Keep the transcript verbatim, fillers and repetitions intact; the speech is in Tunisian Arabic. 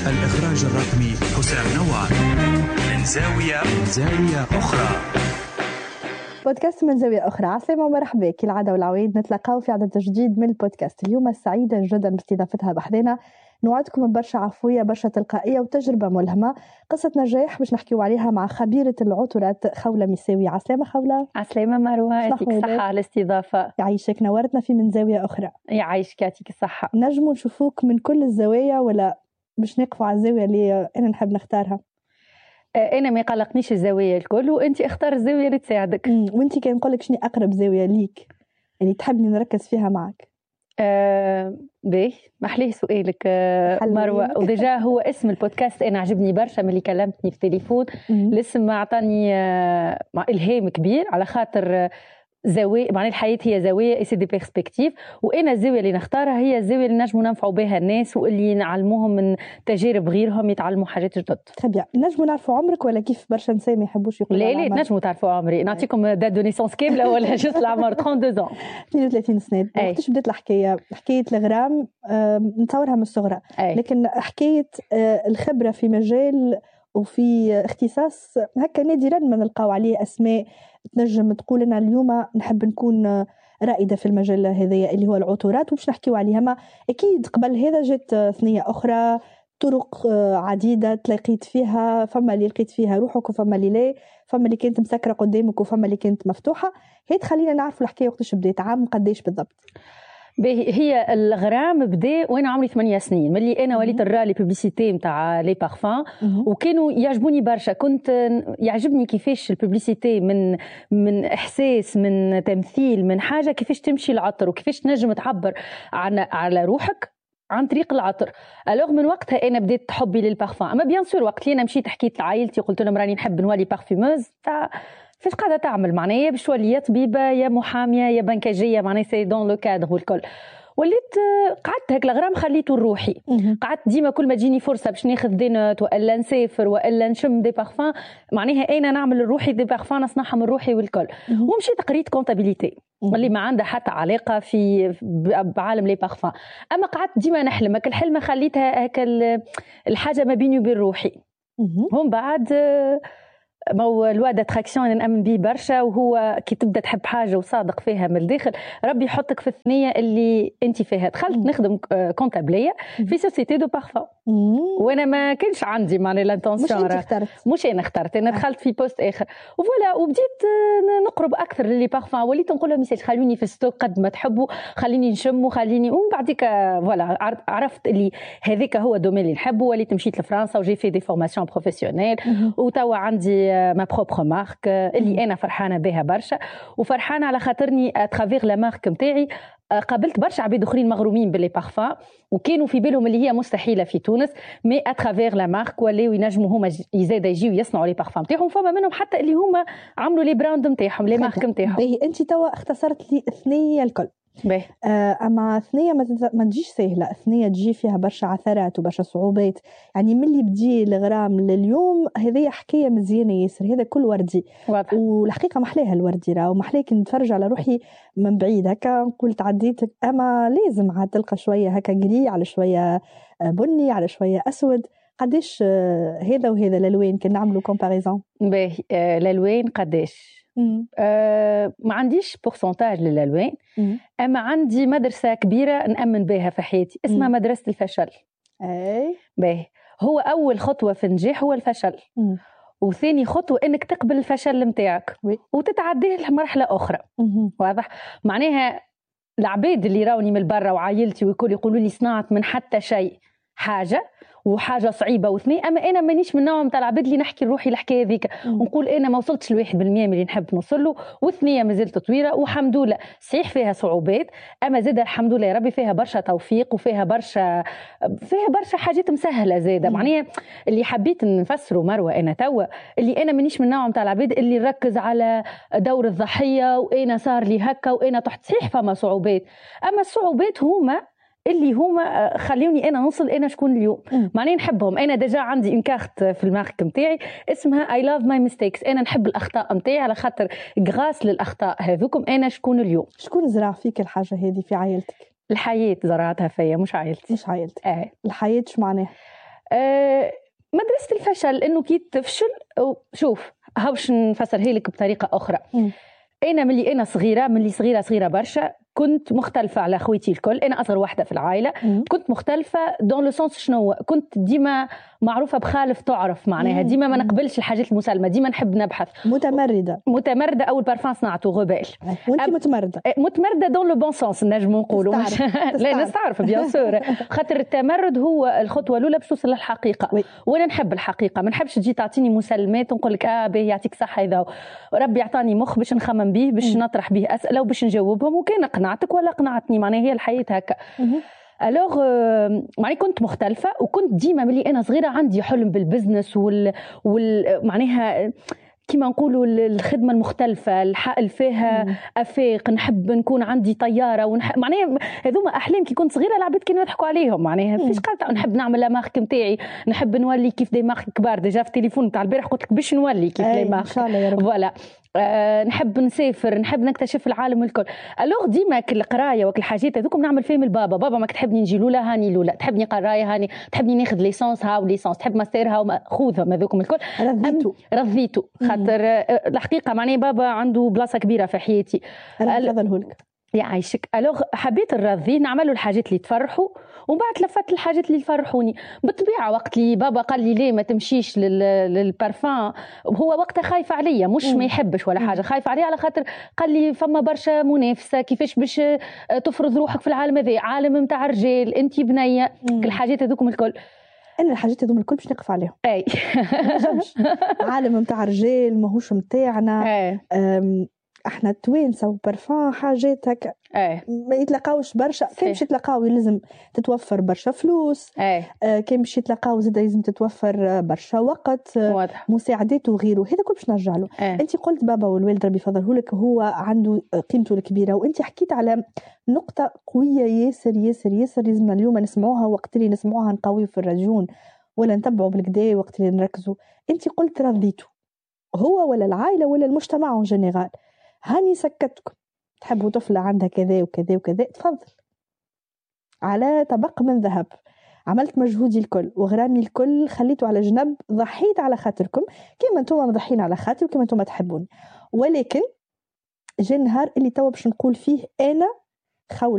الإخراج الرقمي حسام نوار. من زاوية زاوية أخرى. بودكاست من زاوية أخرى. عسلامة ومرحبا، كالعادة والعوايد نتلاقاو في عدد جديد من البودكاست. اليوم سعيدة جدا باستضافتها بحذنا، نوعدكم برشا عفوية، برشا تلقائية وتجربة ملهمة، قصة نجاح باش نحكيو عليها مع خبيرة العطورات خولة ميساوي. عسلامة خولة. عسلامة مروة، يعطيك الصحة على الاستضافة. يعيشك، نورتنا في من زاوية أخرى. يعيشك، يعطيك الصحة. نجمو نشوفوك من كل الزوايا ولا باش نقفوا على الزاوية اللي أنا نحب نختارها؟ أنا ما يقلقنيش الزاوية الكل، وأنت اختار الزاوية اللي تساعدك. وأنت كان نقول لك شنو أقرب زاوية ليك يعني تحبني نركز فيها معك؟ آه باهي، محليه سؤالك آه مروة. و déjà هو اسم البودكاست أنا عجبني برشا ملي كلمتني في التليفون. الاسم أعطاني آه إلهام كبير على خاطر زاوية، معناها الحياة هي زاوية، c'est des perspectives، وأنا الزاوية اللي نختارها هي الزاوية اللي نجموا ننفعوا بها الناس واللي نعلموهم من تجارب غيرهم يتعلموا حاجات جدد. très bien. نجموا نعرفوا عمرك ولا كيف برشا نساء ما يحبوش يقولوا؟ لا لا، نجموا تعرفوا عمري. نعطيكم date de naissance كاملة ولا juste العمر؟ اثنين وثلاثين. اثنين وثلاثين سنة. وقتاش بدات الحكاية؟ حكاية الغرام نتصورها من الصغرى، لكن حكاية الخبرة في مجال وفي اختصاص هكا نادرا ما نلقاو عليه أسماء تنجم تقول أنا اليوم نحب نكون رائدة في المجال هذايا اللي هو العطورات وباش نحكيو عليها. ما أكيد قبل هذا جت ثنية أخرى، طرق عديدة تلاقيت فيها، فما اللي لقيت فيها روحك وفما اللي لا، فما اللي كانت مسكرة قدامك وفما اللي كانت مفتوحة. هي تخلينا نعرف الحكاية وقتاش بدات، عام قداش بالضبط؟ هي الغرام بدا وانا عمري ثمانية سنين، ملي انا وليت نرى les publicités نتاع les parfums وكانوا يعجبوني برشا. كنت يعجبني كيفاش ال publicité من من احساس، من تمثيل، من حاجة، كيفاش تمشي العطر وكيفاش تنجم تعبر عن على روحك عن طريق العطر. alors من وقتها انا بديت حبي للبارفان. اما bien sûr وقت اللي انا مشيت حكيت لعائلتي قلت لهم راني نحب نولي parfumeuse، تاع فاش قاعدة تعمل؟ معناها باش تولي يا طبيبه يا محاميه يا بنكاجيه، معناها c'est dans le cadre والكل. وليت قعدت هيك الغرام خليته لروحي. قعدت ديما كل ما تجيني فرصة باش ناخذ des notes والا نسافر والا نشم des parfums، معناها انا نعمل لروحي des parfums، نصنعها من روحي والكل. ومشيت قريت comptabilité اللي ما عندها حتى علاقة في بعالم les parfums، اما قعدت ديما نحلم هك الحلمة، خليتها هك الحاجة ما بيني وبين روحي. هم بعد ما هو loi d'attraction انا نامن به برشا، وهو كي تبدا تحب حاجة وصادق فيها من الداخل ربي يحطك في الثنية اللي انت فيها. دخلت نخدم comptable في société de parfum، وانا ما كانش عندي معناها l'intention. مش انت اخترت؟ مش انا اخترت، انا دخلت في poste اخر و voilà. وبديت نقرب اكثر ل les parfums، وليت نقول لهم messieurs خلوني في stock قد ما تحبوا، خليني نشم وخليني. ومن بعديك voilà عرفت اللي هذاك هو ال domaine اللي نحبه. وليت مشيت لفرنسا و j'ai fait des formations professionnelles، وتوا عندي ma propre marque اللي انا فرحانة بها برشا، وفرحانه على خاطرني à travers la marque نتاعي قابلت برشا عباد اخرين مغرومين ب les parfums وكانوا في بالهم اللي هي مستحيلة في تونس، mais à travers la marque ولاو ينجموا هما زاده يجيو يصنعوا les parfums نتاعهم. فما منهم حتى اللي هما عملوا les brands نتاعهم، les marques نتاعهم. باهي، انت توا اختصرت لي ثنيه الكل. باهي. آه، اما ثنيه ما تجيش سهلة، ثنيه تجي فيها برشا عثرات وبرشا صعوبات. يعني من اللي بدي الغرام لليوم هذه حكاية مزيانه ياسر، هذا كل وردي. واضح. والحقيقة محلاها الوردي راه، ومحلاه كي نتفرج على روحي من بعيد هكا نقول تعديت، اما لازم عاد تلقى شوية هكا gris على شوية بني على شوية اسود. قداش هذا وهذا الالوان كي نعملوا comparaison؟ باهي، آه الالوان قداش؟ أه ما عنديش pourcentage للالوان، اما عندي مدرسه كبيرة نامن بها في حياتي اسمها مم. مدرسه الفشل. اي باهي، هو اول خطوة في النجاح هو الفشل. مم. وثاني خطوة انك تقبل الفشل نتاعك وتتعديه لمرحلة اخرى. مم. واضح؟ معناها العباد اللي راوني من برا وعائلتي والكل يقولوا لي صنعت من حتى شيء حاجة وحاجه صعيبة واثنين، اما انا مانيش من نوع نتاع العباد اللي نحكي لروحي الحكاية ذيك ونقول انا ما وصلتش لواحد بالمية من اللي نحب نوصل له، والثنيه مازالت طويلة والحمد لله. صحيح فيها صعوبات، اما زاد الحمد لله يا ربي فيها برشا توفيق وفيها برشا فيها برشا حاجات مسهلة زاده. معناها اللي حبيت نفسره مروه انا توا اللي انا مانيش من نوع نتاع العباد اللي نركز على دور الضحية وانا صار لي هكا وانا تحت. صحيح فما صعوبات، اما الصعوبات هما اللي هما خلوني انا نوصل انا شكون اليوم. معناها نحبهم. انا déjà عندي une carte في ال marque نتاعي اسمها I love my mistakes. انا نحب الاخطاء نتاعي على خاطر grâce للاخطاء هذوكم انا شكون اليوم. شكون زرع فيك الحاجة هذه في عائلتك؟ الحياة زرعتها فيا، مش عائلتي. مش عائلتك. اه. الحياة شو معناها؟ آه مدرسه الفشل انه كي تفشل، شوف هاو باش نفسرها لك بطريقة اخرى. مم. انا ملي انا صغيرة، ملي صغيرة صغيرة برشا، كنت مختلفة على خويتي الكل. انا اصغر واحدة في العائلة. مم. كنت مختلفة dans le sens شنو؟ كنت ديما معروفة بخالف تعرف، معناها ديما ما نقبلش الحاجات المسلمه، ديما نحب نبحث. متمرده. متمرده. اول بارفان صنعته rebelle. وانت متمرده. متمرده dans le bon sens نجمو نقولوا. لا نستعرف bien sûr، خاطر التمرد هو الخطوة الاولى باش توصل للحقيقه. oui. وانا نحب الحقيقه، ما نحبش تجي تعطيني مسلمات ونقول لك اه باهي يعطيك صحه. اذا ربي عطاني مخ باش نخمم به، باش نطرح به اسئلة وباش نجاوبهم، وكان قنعتك ولا قنعتني، معناها هي الحياة هكا. alors معناها كنت مختلفه، وكنت ديما ملي انا صغيرة عندي حلم بال business وال, وال... معناها كيما نقولوا الخدمة المختلفه، الحقل فيها افاق، نحب نكون عندي طيارة ونح... معناها هذوما احلام كي كنت صغيرة العباد كانوا يضحكوا عليهم، معناها فيش قالت نحب نعمل la marque نتاعي، نحب نولي كيف des marques كبار. déjà في التليفون نتاع البارح قلت لك باش نولي كيف les marques ان شاء الله يا رب. voilà، أه نحب نسافر، نحب نكتشف العالم الكل. alors ديما كل القراية وكل الحاجات هذوكم نعمل فيهم البابا. بابا ما تحبني نجي لولا هاني لولا، تحبني قرايه هاني، تحبني ناخذ licence هاو licence، تحب ماستر هاو خذهم هذوكم الكل. رضيتو. رضيتو خاطر الحقيقة معناها بابا عنده بلاصة كبيرة في حياتي. ربي لك. يعيشك. alors حبيت نرضيه، نعملوا الحاجات اللي تفرحوا، ومن بعد تلفت الحاجات اللي يفرحوني. بالطبيعة وقت اللي بابا قال لي ليه ما تمشيش للبارفان، هو وقتها خايف عليا، مش ما يحبش ولا حاجه، خايف عليا على خاطر قال لي فما برشا منافسه، كيفاش باش تفرض روحك في العالم هذا، عالم نتاع رجال، انت بنيه، كل الحاجات هذوكم الكل. انا الحاجات هذوم الكل باش نقف عليهم. اي عالم نتاع رجال ماهوش نتاعنا. احنا توانسة وبرفان حاجات هكا ايه ما يتلاقاوش برشا. كان باش يتلاقاو لازم تتوفر برشا فلوس. ايه آه كان باش يتلاقاو زاد لازم تتوفر برشا وقت. واضح. مساعدات وغيره، هذا كل باش نرجع له. ايه. انت قلت بابا والوالد ربي يفضله لك هو عنده قيمته الكبيره، وانت حكيت على نقطة قوية ياسر ياسر ياسر لازمنا اليوم نسمعوها، وقت اللي نسمعوها نقويو في الرجون ولا نتبعوا بالكدا وقت اللي نركزوا. انت قلت رضيته هو ولا العائلة ولا المجتمع en général. هاني سكتكم، تحبوا طفلة عندها كذا وكذا وكذا، تفضل على طبق من ذهب. عملت مجهودي الكل وغرامي الكل خليته على جنب، ضحيت على خاطركم كما انتم مضحين على خاطر وكما انتم تحبوني. ولكن جا النهار اللي توا باش نقول فيه انا خولة